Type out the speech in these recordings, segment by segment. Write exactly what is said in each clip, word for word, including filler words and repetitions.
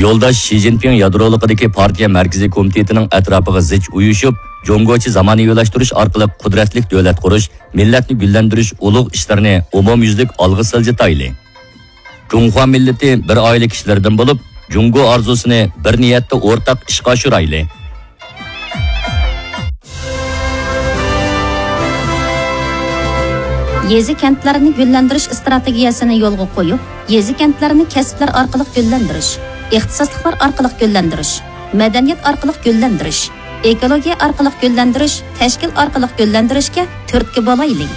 يولداش شى جىنپىڭ يادرولۇقىدىكى پارتىيە مەركىزىي كومىتېتىنىڭ ئەتراپىغا زىچ ئۇيۇشۇپ، جۇڭگوچە زامانىۋىلاشتۇرۇش ئارقىلىق قۇدرەتلىك دۆلەت قۇرۇش، مىللەتنى گۈللەندۈرۈش ئۇلۇغ ئىشلىرىنى ئومۇميۈزلۈك ئالغا سىلجىتايلى. جۇڭخۇا مىللىتى بىر ئائىلە كىشىلىرىدىن بولۇپ، جۇڭگو ئارزۇسىنى بىر نىيەتتە ئورتاق ئىشقا ئاشۇرايلى. يېزا-كەنتلەرنى گۈللەندۈرۈش ئىستراتېگىيەسىنى يولغا قويۇپ، يېزا-كەنتلەرنى كەسىپلەر ئارقىلىق گۈللەندۈرۈش، ئىختىساسلىقلار ئارقىلىق گۈللەندۈرۈش، مەدەنىيەت ئارقىلىق گۈللەندۈرۈش، ئېكولوگىيە ئارقىلىق گۈللەندۈرۈش، تەشكىل ئارقىلىق گۈللەندۈرۈشكە تۈرتكە بولايلى.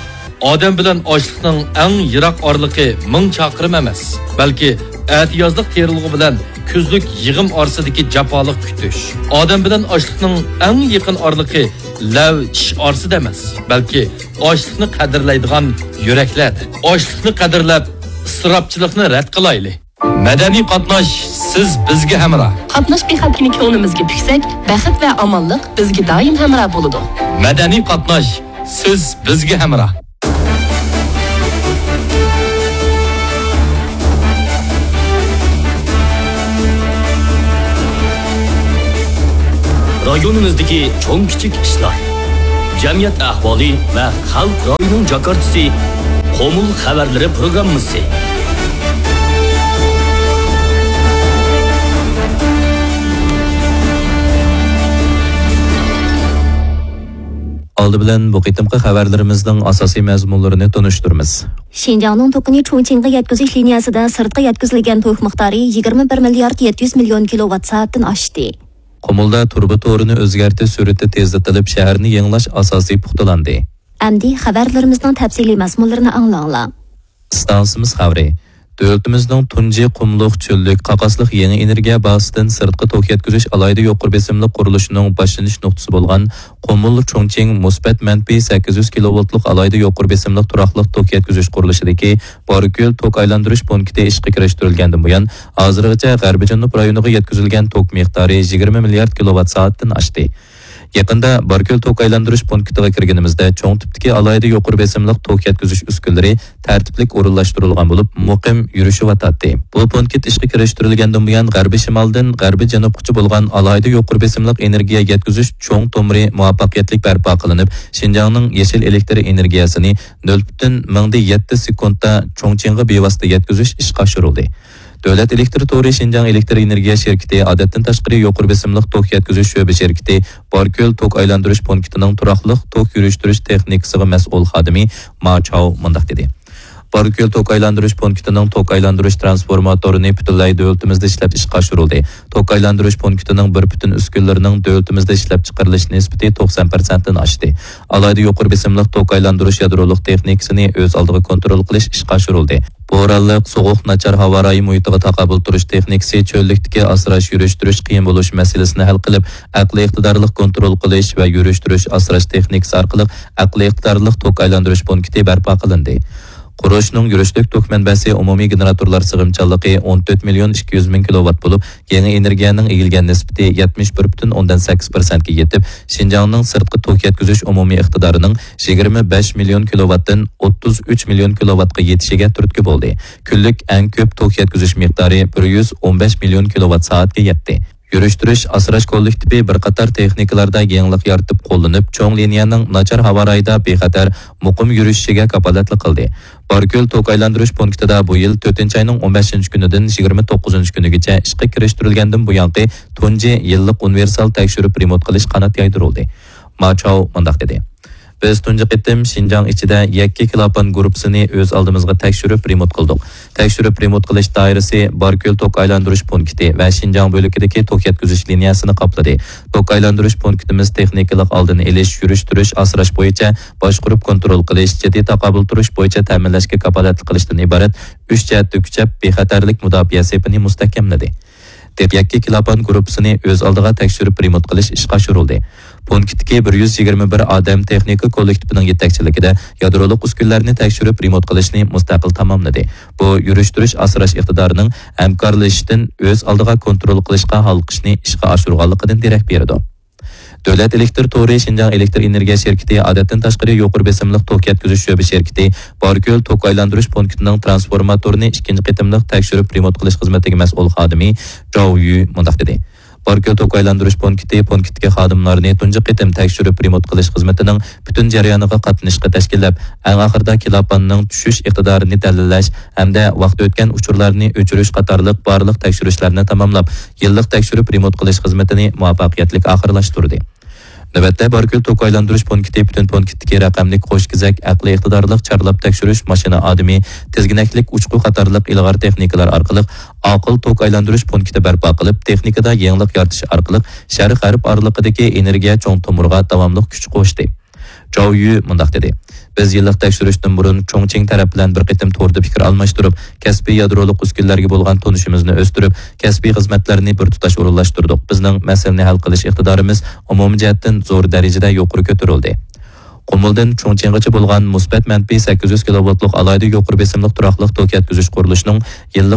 ئادەم بىلەن ئاشلىقنىڭ ئەڭ يىراق ئارىلىقى مىڭ چاقىرىم ئەمەس، بەلكى ئەتىيازلىق تېرىلغۇ بىلەن كۈزلۈك يىغىم ئارىسىدىكى جاپالىق كۈتۈش. ئادەم بىلەن ئاشلىقنىڭ ئەڭ يېقىن ئارىلىقى لەۋ چىش ئارىسىدا ئەمەس، بەلكى ئاشلىقنى قەدىرلەيدىغان يۈرەكلەردە. ئاشلىقنى قەدىرلەپ، ئىسراپچىلىقنى رەت قىلايلى. مەدەنىي قاتناش، سىز بىزگە ھەمراھ. قاتناش بىخەتەرلىكى كۆڭلىمىزگە پۈكسەك، بەخت ۋە ئامانلىق بىزگە دائىم ھەمراھ بولىدۇ. مەدەنىي قاتناش، سىز بىزگە ھەمراھ. رايونىمىزدىكى چوڭ كىچىك ئىشلار، جەمئىيەت ئەھۋالى ۋە خەلق رايىنىڭ جاكارتىسى، قومۇل خەۋەرلىرى پروگراممىسى. ئالدى بىلەن بۇ قېتىمقى خەۋەرلىرىمىزنىڭ ئاساسىي مەزمۇنلىرىنى تونۇشتۇرىمىز. شىنجاڭنىڭ توكىنى چۇڭچىڭغا يەتكۈزۈش لىنىيەسىدە سىرتقا يەتكۈزۈلگەن توك مىقدارى يىگىرمە بىر مىليارد يەتتە يۈز مىليون كىلوۋات سائەتتىن ئاشتى. قۇمۇلدا تۇرۇبا تورىنى ئۆزگەرتىش سۈرئىتى تېزلىتىلىپ، شەھەرنى يېڭىلاش ئاساسى پۇختىلاندى. ئەمدى خەۋەرلىرىمىزنىڭ تەپسىلىي مەزمۇنلىرىنى ئاڭلاڭلار. ئىستانسىمىز خەۋىرى. دۆلىتىمىزنىڭ تۇنجى قۇملۇق چۆللۈك قاقاسلىق يېڭى ئېنېرگىيە بازىسىدىن سىرتقا توك يەتكۈزۈش ئالاھىدە يۇقىرى بېسىملىق قۇرۇلۇشىنىڭ باشلىنىش نۇقتىسى بولغان قۇمۇل چۇڭچىڭ مۇسبەت مەنپىي سەككىز يۈز كىلوۋولتلۇق ئالاھىدە يۇقىرى بېسىملىق تۇراقلىق توك يەتكۈزۈش قۇرۇلۇشىدىكى باركۆل توك ئايلاندۇرۇش پونكىتى ئىشقا كىرىشتۈرۈلگەندىن بۇيان، ھازىرغىچە غەربىي جەنۇب رايونىغا يەتكۈزۈلگەن توك مىقدارى يىگىرمە مىليارد كىلوۋات سائەتتىن ئاشتى. يېقىندا باركۆل توك ئايلاندۇرۇش پونكىتىغا كىرگىنىمىزدە، چوڭ تىپتىكى ئالاھىدە يۇقىرى بېسىملىق توك يەتكۈزۈش ئۈسكۈنىلىرى تەرتىپلىك ئورۇنلاشتۇرۇلغان بولۇپ، مۇقىم يۈرۈشۈۋاتاتتى. بۇ پونكىت ئىشقا كىرىشتۈرۈلگەندىن بۇيان، غەربىي شىمالدىن غەربىي جەنۇبقىچە بولغان ئالاھىدە يۇقىرى بېسىملىق ئېنېرگىيە يەتكۈزۈش چوڭ تومۇرى مۇۋەپپەقىيەتلىك بەرپا قىلىنىپ، شىنجاڭنىڭ يېشىل ئېلېكتر ئېنېرگىيەسىنى نۆل پۈتۈن مىڭدە يەتتە سېكۇنتتا چۇڭچىڭغا بىۋاسىتە يەتكۈزۈش ئىشقا ئاشۇرۇلدى. دۆلەت ئېلېكتر تورى شىنجاڭ ئېلېكتر ئېنېرگىيە شىركىتى، ئادەتتىن تاشقىرى يۇقىرى بېسىملىق توك يەتكۈزۈش شۆبە شىركىتى، باركۆل توك ئايلاندۇرۇش پونكىتىنىڭ تۇراقلىق توك يۈرۈشتۈرۈش تېخنىكىسىغا مەسئۇل خادىمى ما چاۋ مۇنداق دېدى: باركۆل توك ئايلاندۇرۇش پونكىتىنىڭ توك ئايلاندۇرۇش ترانسفورماتورىنى پۈتۈنلەي دۆلىتىمىزدە ئىشلەپ ئىشقا ئاشۇرۇلدى. توك ئايلاندۇرۇش پونكىتىنىڭ بىر پۈتۈن ئۈسكۈنىلىرىنىڭ دۆلىتىمىزدە ئىشلەپچىقىرىلىش نىسبىتى توقسان پىرسەنتتىن ئاشتى. ئالاھىدە يۇقىرى بېسىملىق توك ئايلاندۇرۇش يادرولۇق تېخنىكىسىنى ئۆز ئالدىغا كونترول قىلىش ئىشقا ئاشۇرۇلدى. بورانلىق، سوغۇق، ناچار ھاۋا رايى مۇھىتىغا تاقابىل تۇرۇش تېخنىكىسى چۆللۈكتىكى ئاسراش، يۈرۈشتۈرۈش قىيىن بولۇش مەسىلىسىنى ھەل قىلىپ، ئەقلىي ئىقتىدارلىق كونترول قىلىش ۋە يۈرۈشتۈرۈش ئاسراش تېخنىكىسى ئارقىلىق ئەقلىي ئىقتىدارلىق توك ئايلاندۇرۇش پونكىتى بەرپا قىلىندى. قۇرۇلۇشنىڭ يۈرۈشلۈك توك مەنبەسى ئومۇمىي گېنېراتورلار سىغىمچانلىقى ئون تۆت مىليون ئىككى يۈز مىڭ كىلوۋات بولۇپ، يېڭى ئېنېرگىيەنىڭ ئىگىلىگەن نىسبىتى يەتمىش بىر پۈتۈن ئوندىن سەككىز پىرسەنتكە يېتىپ، شىنجاڭنىڭ سىرتقا توك يەتكۈزۈش ئومۇمىي ئىقتىدارىنىڭ يىگىرمە بەش مىليون كىلوۋاتتىن ئوتتۇز ئۈچ مىليون كىلوۋاتقا يېتىشىگە تۈرتكە بولدى. كۈنلۈك ئەڭ كۆپ توك يەتكۈزۈش مىقدارى بىر يۈز ئون بەش مىليون كىلوۋات سائەتكە يەتتى. يۈرۈشتۈرۈش ئاسراش كوللېكتىپى بىر قاتار تېخنىكىلاردا يېڭىلىق يارىتىپ قوللىنىپ، چوڭ لىنىيەنىڭ ناچار ھاۋا رايىدا بىخەتەر، مۇقىم يۈرۈشۈشىگە كاپالەتلىك قىلدى. باركۆل توك ئايلاندۇرۇش پونكىتىدا بۇ يىل تۆتىنچى ئاينىڭ ئون بەشىنچى كۈنىدىن يىگىرمە توققۇزىنچى كۈنىگىچە ئىشقا كىرىشتۈرۈلگەندىن بۇيانقى تۇنجى يىللىق ئۇنىۋېرسال تەكشۈرۈپ رېمونت قىلىش قانات يايدۇرۇلدى. ما چاۋ مۇنداق دېدى: بىز تۇنجى قېتىم شىنجاڭ ئىچىدە يەككە كىلابان گۇرۇپپىسىنى ئۆز ئالدىمىزغا تەكشۈرۈپ رېمونت قىلدۇق. تەكشۈرۈپ رېمونت قىلىش دائىرىسى باركۆل توك ئايلاندۇرۇش پونكىتى ۋە شىنجاڭ بۆلىكىدىكى توك يەتكۈزۈش لىنىيەسىنى قاپلىدى. توك ئايلاندۇرۇش پونكىتىمىز تېخنىكىلىق ئالدىنى ئېلىش، يۈرۈشتۈرۈش، ئاسراش بويىچە باشقۇرۇپ كونترول قىلىش، جىددىي تاقابىل تۇرۇش بويىچە تەمىنلەشكە كاپالەتلىك قىلىشتىن ئىبارەت ئۈچ جەھەتتە كۈچەپ، بىخەتەرلىك مۇداپىئە سېپىنى مۇستەھكەملىدى. دېق يەككە كىلابان گۇرۇپپىسىنى ئۆز ئالدىغا تەكشۈرۈپ رېمونت قىلىش ئىشقا ئاشۇرۇلدى. پونكىتتىكى بىر يۈز يىگىرمە بىر ئادەم تېخنىكا كوللېكتىپىنىڭ يېتەكچىلىكىدە يادرولۇق ئۈسكۈنىلەرنى تەكشۈرۈپ رېمونت قىلىشنى مۇستەقىل تاماملىدى. بۇ يۈرۈشتۈرۈش ئاسراش ئىقتىدارىنىڭ ھەمكارلىشىشتىن ئۆز ئالدىغا كونترول قىلىشقا ھالقىشنى ئىشقا ئاشۇرغانلىقىدىن دېرەك بېرىدۇ. دۆلەت ئېلېكتىر تورى شىنجاڭ ئېلېكتىر ئېنېرگىيە شىركىتى ئادەتتىن تاشقىرى يۇقىرى بېسىملىق توك يەتكۈزۈش شۆبە شىركىتى باركۆل توك ئايلاندۇرۇش پونكىتىنىڭ ترانسفورماتورىنى ئىككىنچى قېتىملىق تەكشۈرۈپ رېمونت قىلىش خىزمىتىگە مەسئۇل خادىمى جاۋ يۈ مۇنداق دېدى. باركۆل توك ئايلاندۇرۇش پونكىتى پونكىتتىكى خادىملارنى تۇنجى قېتىم تەكشۈرۈپ رېمونت قىلىش خىزمىتىنىڭ پۈتۈن جەريانىغا قاتنىشىشقا تەشكىللەپ، ئەڭ ئاخىرىدا كىلاپاننىڭ چۈشۈش ئىقتىدارىنى دەلىللەش ھەمدە ۋاقتى ئۆتكەن ئۇچۇرلارنى ئۆچۈرۈش قاتارلىق بارلىق تەكشۈرۈشلەرنى تاماملاپ، يىللىق تەكشۈرۈپ رېمونت قىلىش خىزمىتىنى مۇۋەپپەقىيەتلىك ئاخىرلاشتۇردى. نۆۋەتتە باركۆل توك ئايلاندۇرۇش پونكىتى پۈتۈن پونكىتتىكى رەقەملىك قوش كېزەك ئەقلىي ئىقتىدارلىق چارلاپ تەكشۈرۈش ماشىنا ئادىمى، تىزگىنەكلىك ئۇچقۇ قاتارلىق ئىلغار تېخنىكىلار ئارقىلىق ئاقىل توك ئايلاندۇرۇش پونكىتى بەرپا قىلىپ، تېخنىكىدا يېڭىلىق يارىتىش ئارقىلىق شەرق غەرب ئارىلىقىدىكى ئېنېرگىيە چوڭ تومۇرغا داۋاملىق كۈچ قوشتى. جاۋ يۈ مۇنداق دېدى: بىز يىللىق تەكشۈرۈشتىن بۇرۇن چۇڭچىڭ تەرەپ بىلەن بىر قېتىم توردا پىكىر ئالماشتۇرۇپ، كەسپىي يادرولۇق ئۈسكۈنىلەرگە بولغان تونۇشىمىزنى ئۆستۈرۈپ، كەسپىي خىزمەتلەرنى بىر تۇتاش ئورۇنلاشتۇردۇق. بىزنىڭ مەسىلىنى ھەل قىلىش ئىقتىدارىمىز ئومۇمىي جەھەتتىن زور دەرىجىدە يۇقىرى كۆتۈرۈلدى. قۇمۇلدىن چۇڭچىڭغىچە بولغان مۇسبەت مەنپىي سەككىز يۈز كىلوۋولتلۇق ئالاھىدە يۇقىرى بېسىملىق تۇراقلىق توك يەتكۈزۈش قۇرۇلۇشىنىڭ يىللىق